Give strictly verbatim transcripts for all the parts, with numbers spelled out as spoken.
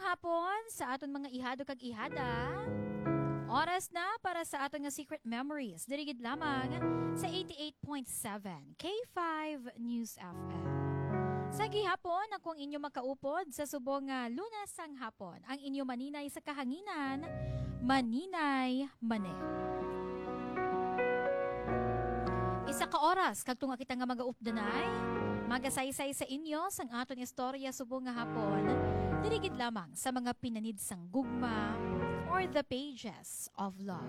hapon sa aton mga ihado kag ihada. Oras na para sa aton nga Secret Memories, diri gid lamang sa eighty-eight point seven K five News F M. Sa gihapon, ako ang inyo makaupod sa subong nga Lunes sang hapon, ang inyo maninay sa kahanginan, Maninay Mane. Isa ka oras kag tunga kita nga magaupdanay, magasaysay sa inyo sang aton istorya subong nga hapon, diri gid lamang sa mga pinanid sang gugma or the pages of love.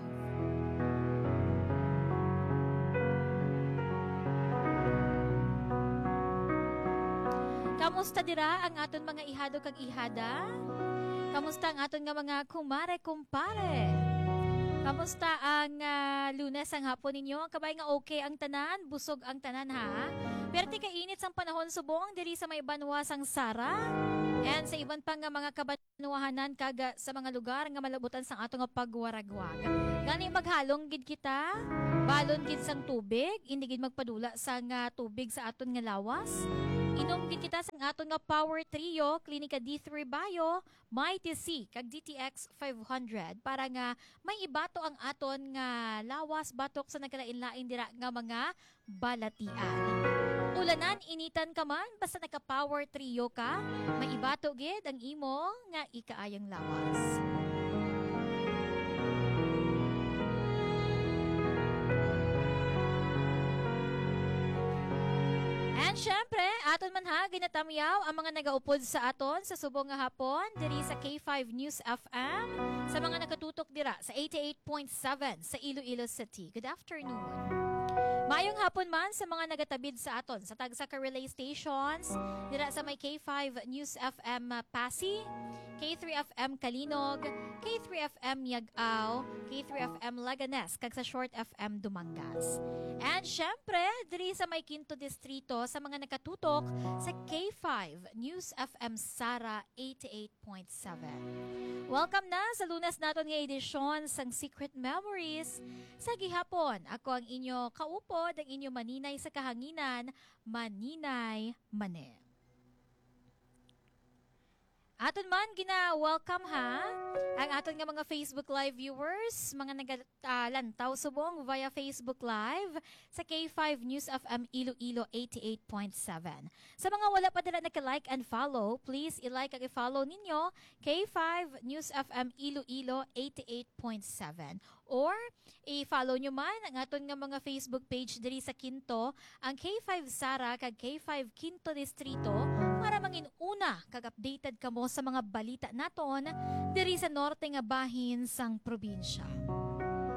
Kamusta dira ang aton mga ihado kag ihada? Kamusta ang aton nga mga kumare, kumpare? Kamusta ang, ah, Lunes ang hapon ninyo? Kabay nga okay ang tanan, busog ang tanan, ha? Perte ka init sang panahon subong diri sa may banwa sang Sara and sa iban pa nga mga kabanwahanan kag, ah, sa mga lugar nga malabutan sang ato nga pagwaragwag. Gani maghalong gid kita, balon gid sang tubig, hindi gid magpadula sang, ah, tubig sa aton nga lawas. Inom gid kita sang aton nga Power Trio, Clinica D three Bio, Mighty C, kag D T X five hundred para nga may ibato ang aton nga lawas batok sa nagkalain-lain dira nga mga balatian. Ulanan, initan ka man, basta naka-Power Trio ka, may ibato gid ang imo nga ikaayang lawas. And syempre, aton man ha, ginatamyaw ang mga nagaupod sa aton sa subong nga hapon diri sa K five News F M, sa mga nakatutok dira sa eighty-eight point seven sa Iloilo City. Good afternoon. Mayong hapon man sa mga nagatabid sa aton sa tagsa ka relay stations dira sa may K five News F M Passi, K three F M Calinog, K three F M Yag-aw, K three F M Laganes, kag sa Short F M Dumangas. And syempre, diri sa may Quinto Distrito sa mga nakatutok sa K five News F M Sara eighty-eight point seven. Welcome na sa Lunes naton nga edisyon sang Secret Memories. Sa gihapon, ako ang inyo kaupod, ang inyo maninay sa kahanginan, Maninay Mane. Aton man gina-welcome ha ang aton nga mga Facebook Live viewers, mga naga-, ah, lantaw subong via Facebook Live sa K five News F M Iloilo eighty-eight point seven. Sa mga wala pa dira naka-like and follow, please i-like ag i-follow ninyo K five News F M Iloilo eighty-eight point seven. Or i-follow nyo man ang aton nga mga Facebook page diri sa Quinto, ang K five Sara kag K five Quinto Distrito, para mangin una kag updated kamo sa mga balita naton diri sa norte nga bahin sang probinsya.